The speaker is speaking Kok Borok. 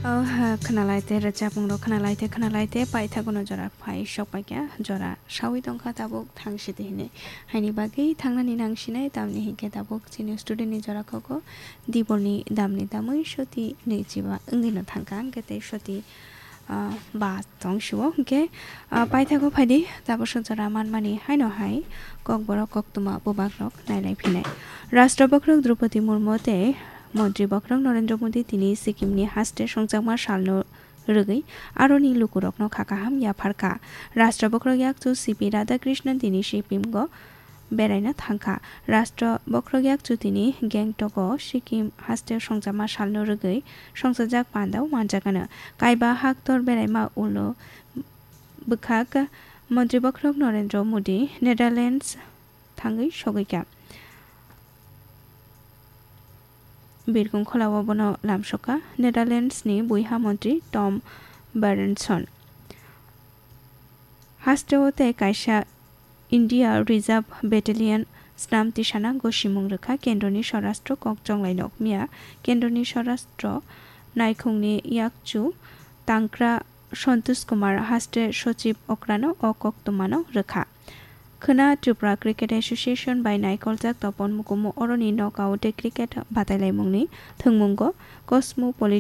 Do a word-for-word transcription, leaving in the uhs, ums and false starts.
Oh, ha, khwnalai te rwchapmung rok khwnalai te khwnalai te paithago no jora phai sok paikha, jora sawi tongkha tabuk thang sidi hinwi. Haini bagwi thangnani nang sinai, tamni hinkhe tabuk chini student ni jora koko dibor ni dam ni damwi soti nwi chiba wngwi no thangkha, hwnkhe tei soti, ah, ba tong sio, hwnkhe, ah, paithago phaidi tabuk sok jora manmani haino hai kokborok koktwma bubak rok nailai phinai. Rashtra bokhorok Droupadi Murmu tei Montri bokhorok Narendra Modi tini Sikkim ni haste songjakma salno rwgwi aroni lukurokno kha kaham yapharkha. Rashtra bokhorok yakchu C P Radhakrishnan tini Sikkim go beraina thangkha. Rashtra bokhorok yakchu tini Gangtok o Sikkim haste songjakma salno rwgwi songsajak pandao manjakano. Kaiba haktor beraima ulo bwkhak Montri bokhorok Narendra Modi Netherlands thangwi sogwikha. Birkung kholao bono lamsokha Netherlands ni buiha montri Tom Berendsen. Hasteo tei kaisa India Reserve Battalion snam tisana gosimung rwkha kendroni Swarashtra kok chonglai nok miya. Kendroni Swarashtra naikhungni yakchu tangkra Santosh Kumar haste Sochib okrano o koktwmano rwkha. Khwna Tripura Cricket Association bai naikoljak Topon Mukumu oroni knockout tei cricket batailaimungni thwngmungo Cosmopolitan